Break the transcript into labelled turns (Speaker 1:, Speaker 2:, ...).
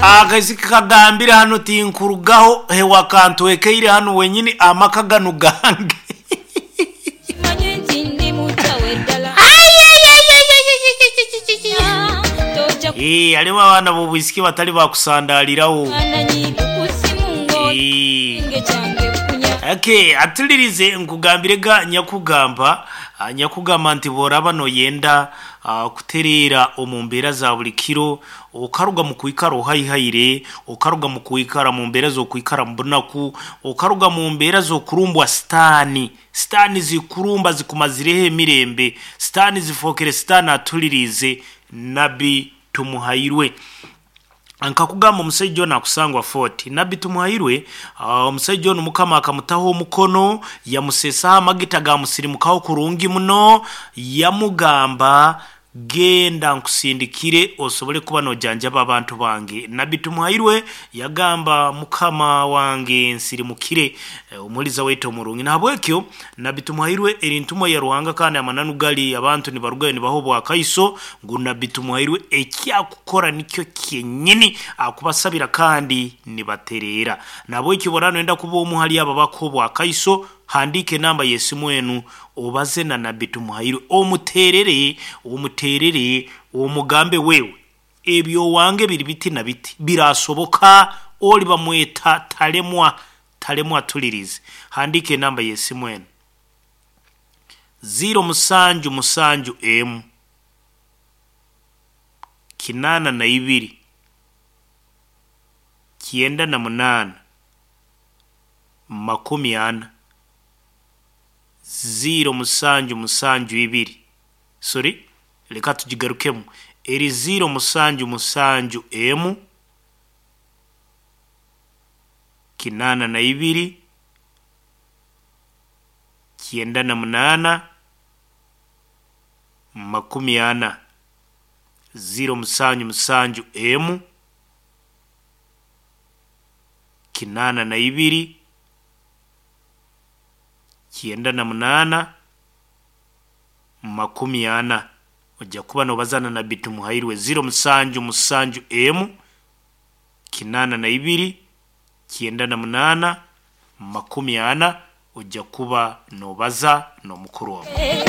Speaker 1: Akaisiki kagambire hanu tinkurugaho he wakantwekeire hanu wenyini amaka ganu gange.
Speaker 2: Kimanye nti ndi mukyawe ddala. Tojja
Speaker 1: Eh, hariho abaana b'obwisiki batari bakusandaliraho.
Speaker 2: kufaananyi ku ssimu
Speaker 1: Eh.
Speaker 2: ng'ekisenge kyange kunya.
Speaker 1: Okay, atulirize nkugambire ga nyakugamba ah, nyakugamba nti boraba noyenda ah, kutereera omu mbeera za buli kiro okaruga mu kwikara ohaihaire okaruga mu kwikara mu mbeera z'okwikara mu bunaku okaruga mu mbeera z'okurumbwa sitaani sitaani zikurumba zikumazireho emirembe sitaani zifookere sitaani atulirize nabbi tumuhairwe. Nkakugamba omusajja ono akusangwa 40 nabbi tumuhairwe. Omusajja ono mukama akamutaho omukono yamusesaho amagita gamusirimukaho kurungi muno yamugamba genda nkusindikire osobole kuba nojanjaba abantu bange. Nabbi tumuhairwe yagamba mukama wange nsirimukire. Omuliza waitu omurungi nahabwekyo nabbi tumuhairwe eri ntumwa ya ruhanga kandi amananu gali abantu nibarugayo nibaha obwakaiso ngu nabbi tumuhairwe ekyakukora nikyo kyenyini akubasabira kandi nibatereera. Nabwekyo bora noyenda kuba omu hali abo abakuha obwakaiso handiika enamba y'esimu enu obaze na nabbi tumuhairwe omuteerere omuteerere omugambe wewe ebyo wange biri biti na biti birasoboka oli bamweta talemwa talemwa atulirize. Handiika enamba y'esimu enu 077 emu 82 98 40 0772. Sorry, leka tugigarukemu eri 077 emu 82 98 40 077 emu 82 98 40. Ojja kuba nobazana na Bitumuhairwe 077 emu 82 98 40 ojja kuba nobaza n'omukuru wawe.